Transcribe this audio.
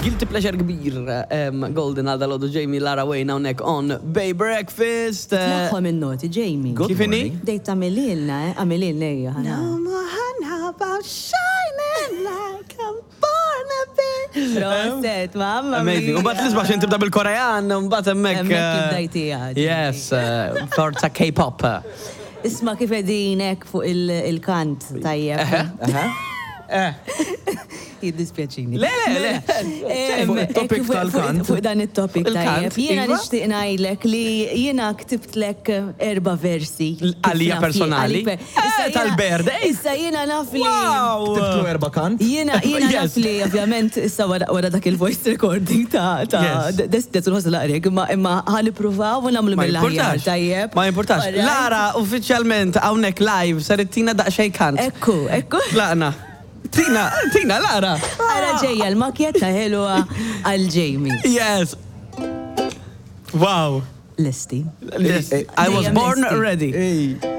Guilty pleasure kbir, Golden għal dalodu Jamie Lara Wayne hawnhekk on Bay Breakfast. Tlaħħom in-noti, Jamie. Good Kif inhi? morning. Bdejt tagħmililna, eh? Għamililna ejja ħa No more about shining like I'm born a bit. Proset, mamma Amazing. U bat l-isbaħ xin tibda bil-Korean, u bat emmek. Hemmhekk ibdajtiha, Jamie. Yes, forza K-pop. Isma' kif qegħdin hekk fuq il-kant tajjeb. Eh. Jiddispjaċini. Le, le, le. Fuq it-topic tal-kant. Fuq dan it-topic Il-kant, tajjeb. Jiena iva. nixtieq ngħidlek li jiena ktibtlek erba' versi. Għalija Kif naf jien, personali? għalik per- Eh, Issa jiena- tal-birthday. Issa jiena naf li. Wow! Ktibtlu erba' kant. Jiena jiena naf Yes. li ovvjament issa wara wara dak il-voice recording ta' ta' Yes. des nħossu laqrek imma imma ħa nippruvaw u nagħmlu Ma mill-aħjar jimpurtax. tajjeb. Ma jimpurtax. Alright? Lara, uffiċjalment hawnhekk live ser ittina daqsxejn kant. Ekku, ekku. Tlaqna. Tina, Tina, Lara. Ara ġejja l-makjetta ħelwa għal Jamie. Yes. Wow. Lesti. Yes. I was Dejjem born lesti. ready. Ej.